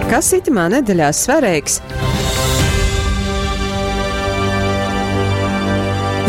Kas itymā nedeļā svareigs?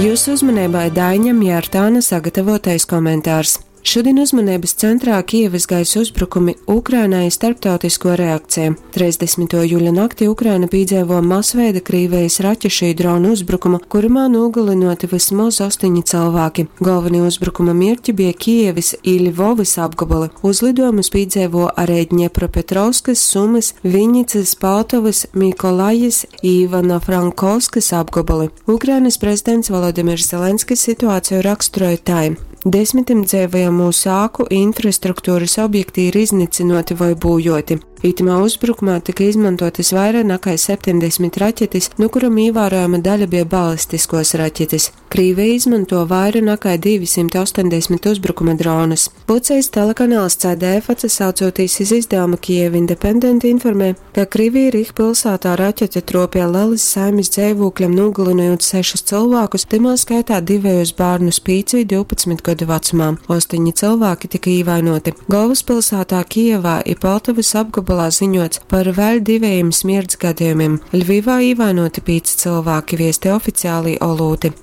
Jūsu uzmanībai Daiņa Mjārtāna sagatavotais komentārs. Šodien uzmanības centrā Kijevas gaisa uzbrukumi Ukrainai starptautisko reakciju. 30. jūļa naktī Ukraina pīdzēvo masveida Krīvijas raķešu i dronu uzbrukumu, kurymā nūgalynoti vysmoz 8 cylvāki. Golvonī uzbrukuma mierķi bija Kijevis i Ļvovys apgoboli. Uzliduojumus pīdzeivo ari Dņepropetrovskys, Sumys, Vinnicys, Poltavys, Mikolajis i Ivano-Frankovskys apgoboli. Ukrainys prezidents Volodimirs Zelenskis situāciju raksturoj tai. Desmitim dzeivojamūs āku i infrastrukturys objekti ir iznycynuoti voi būjuoti. Itymā uzbrukumā tyka izmontuotys vaira nakai 70 raķetis, nu kurom īvārojama daļa bija balistiskuos raķetis. Krīveja izmonto vaira nakai 280 uzbrukuma dronus. Vuocejis telekanals CDF, atsasaucūtīs iz izdavumu Kiev Independent, informē, ka Krivī Rih pilsātā raķete tropie lelis saimis dzeivūkļam, nūgalynojūt sešus cylvākus, tymā skaitā divejus bārnus 5 i 12 godu vacumā. Ostoņi cylvāki tyka īvainoti. Golvyspilsātā Kijevā i Poltavys apgobolā ziņots par vēļ divejim smierts gadejumim. Ļvivā īvainoti 5 cylvāki, viesti oficiālī olūti.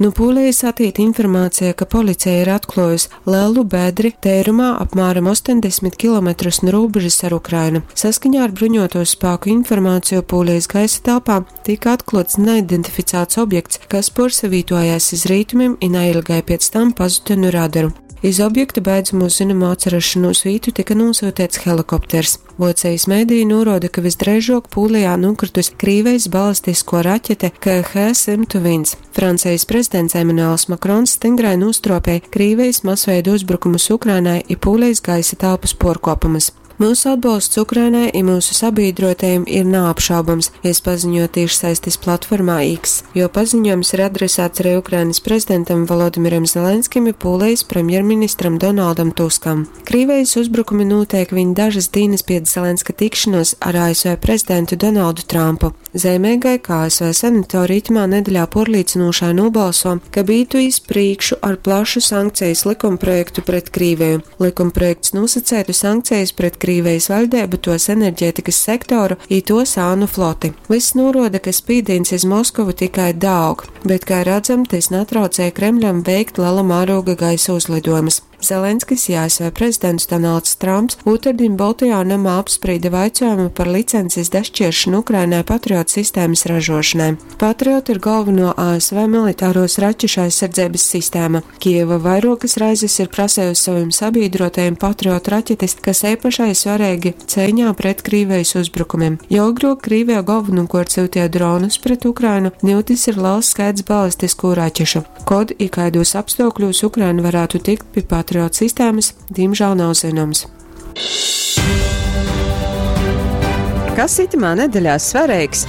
Nu Pūlijas atīt informācija, ka policija ir atkluojusi lelu bedri teirumā apmēram 80 km nu rūbežas ar Ukrainu. Saskaņā ar bruņoto spēku informāciju Pūlijas gaisa telpā tika atkluots neidentificēts objekts, kas puorsavītojās iz rītumim i nailgai piec tam pazuda nu radaru. Iz objekta beidzamo zynomu atsarašanūs vītu tika nūsyuteits helikopters. Vuocejis mediji nūruoda, ka visdreižuok Pūlijā nūkrytus Krīvejis balistiskuo raķete KH-101. Francejis prezidents Emanuels Makrons styngrai nūstruopēja Krīvejis masveida uzbrukumus Ukrainai i Pūlejis gaisa telpys puorkuopumus. Myusu atbolsts Ukrainai i myusu sabīdruotajim ir naapšaubams, jis paziņuoja tīšsaistis platformā X. Juo paziņuojums ir adresāts arī Ukrainys prezidentam Volodimiram Zelenskim i Pūlejis premjerministram Donaldam Tuskam. Krīvejis uzbrukumi nūteik viņ dažys dīnys piec Zelenska tikšonuos ar ASV prezidentu Donaldu Trumpu. Zeimeigai, ka ASV senatori itymā nedeļā puorlīcynūšai nūbalso, kab ītu iz prīšku ar plašu sankcejis likumprojektu pret Krīveju. Likumprojekts nūsaceitu sankcejis pret Krīvejis vaļdeibu, tuos enerģētikys sektoru i tuos ānu floti. Vyss nūruoda, ka spīdīņs iz Moskovu tikai daaug, bet, kai radzam, tys natraucej Kremļam veikt lela mārūga gaisa uzlidojumus. Zelenskis i ASV prezidents Donalds Trumps ūtrdiņ Boltajā nomā apsprīde vaicuojumu par licencis dašķieršanu Ukrainai Patriot sistēmas ražošanai. Patriot ir galveno ASV militāros raķešu aizsardzeibys sistēma. Kijeva vairuokys reizis ir prasejusi sovim sabīdrotajim Patriot raķetis, kas eipašai svareigi ceiņā pret Krīvejis uzbrukumim. Jau agruok Krīveja golvonūkuort syuteja dronus pret Ukrainu, niu tys ir lels skaits balistiskū raķešu. Kod i kaidūs apstuokļūs Ukraina varātu tikt pi Patriot sistēmys, dīmžāl nav zynoms. Kas itymā nedeļā svareigs?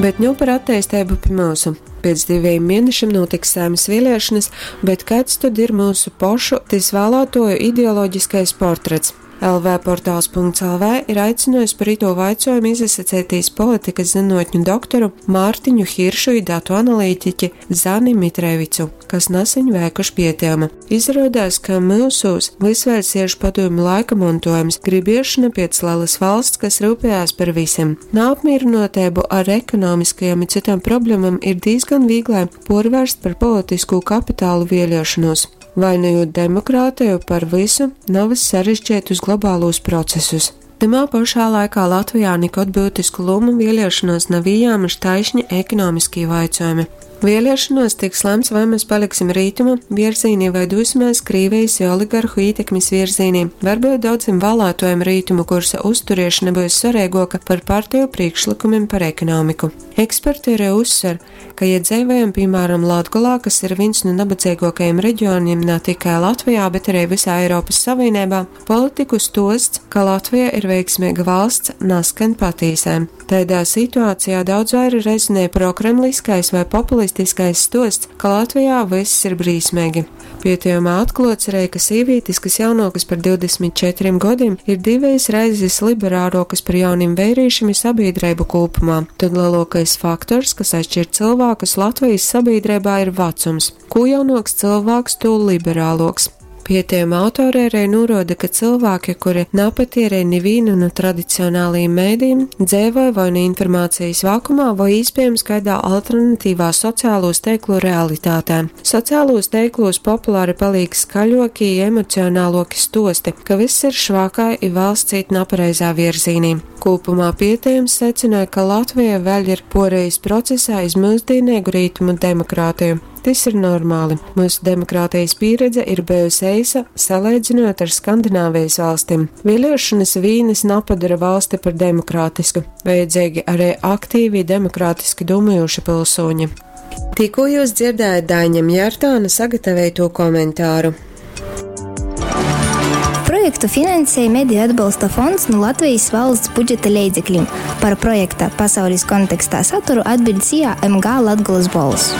Bet nu par atteisteibu pi myusu. Piec divejim mienešim nūtiks Saeimys vieliešonys, bet kaids tod ir myusu pošu, tys vālātuoju ideoloģiskais portrets? LVportāls.lv ir aicynuojs par itū vaicuojumu izasaceitīs politikys zynuotņu doktoru Mārtiņu Hiršu i datu analītiķi Zani Mitrevicu, kas naseņ veikuši pietejumu. Izaruodās, ka myusūs vys vēļ siež padūmu laika montuojums, gribiešona piec lelys valsts, kas ryupejās par vysim. Naapmīrynuoteibu ar ekonomiskajom i cytom problemom ir dīzgon vīglai puorvērst par politiskū kapitālu vieliešonuos. Vainojūt demokrāteju par vysu, navys sarežģeitus globālūs procesus. Tymā pošā laikā Latvijā nikod byutisku lūmu vieliešonuos nav ījāmuši taišni ekonomiskī vaicuojumi. Vieliešonuos tiks lemts, voi mes paliksim rītumu vierzīnī vai dūsimēs Krīvejis i oligarhu ītekmis vierzīnī. Varbyut daudzim vālātuojim rītumu kursa uzturiešona byus svareiguoka par parteju prīšklykumim par ekonomiku. Eksperti arī uzsver, ka, ja dzeivojam, pīmāram, Latgolā, kas ir vīns nu nabadzeiguokajim reģioniem na tikai Latvijā, bet arī visā Eiropys Savīneibā, politiku stuosts, ka Latvija ir veiksmeiga valsts, naskan patīsai. Taidā situācijā daudz vaira rezonē prokremliskais vai populistiskais stosts, ka Latvijā vyss ir brīsmeigi. Pietejumā atkluots arī, ka sīvītis, kas jaunuokas par 24 godim, ir divejas reizes liberāruokas par jaunim veirīšim i sabīdreibu kūpumā. Tod leluokais faktors, kas atšķir cilvēkus Latvijas sabiedrībā, ir vacums. Kū jaunuoks cylvāks, tū liberāluoks. Pietejuma autori arī nūruoda, ka cylvāki, kuri napatierej nivīnu nu tradicionālajim medijim, dzeivoj voi nu informācijas vakumā, voi īspiejams kaidā alternatīvā sociālūs teiklu realitātē. Sociālūs teiklūs populāri palīk skaļoki i emocionāloki stuosti, ka vyss ir švakai i valsts īt napareizā vierzīnī. Kūpumā pietejums secināja, ka Latvija vēļ ir puorejis procesā iz myusdīneigu rītumu demokrātiju. Tys ir normāli. Mūsu demokrātijas pīredze ir bijusi eisa, salīdzinot ar Skandināvijas valstīm. Vēlēšanas vīnas napadara valsti par demokrātisku. Vajadzīgi arī aktīvi demokrātiski domājoši pilsoņi. Tikko jūs dzirdējāt Daiņam Jārtāna sagatavoto komentāru. Projektu finansēja Mediju atbalsta fonds no Latvijas valsts budžeta leidzekļiem. Par projekta pasaules kontekstā saturu atbild SIA MG Latgolas Bols.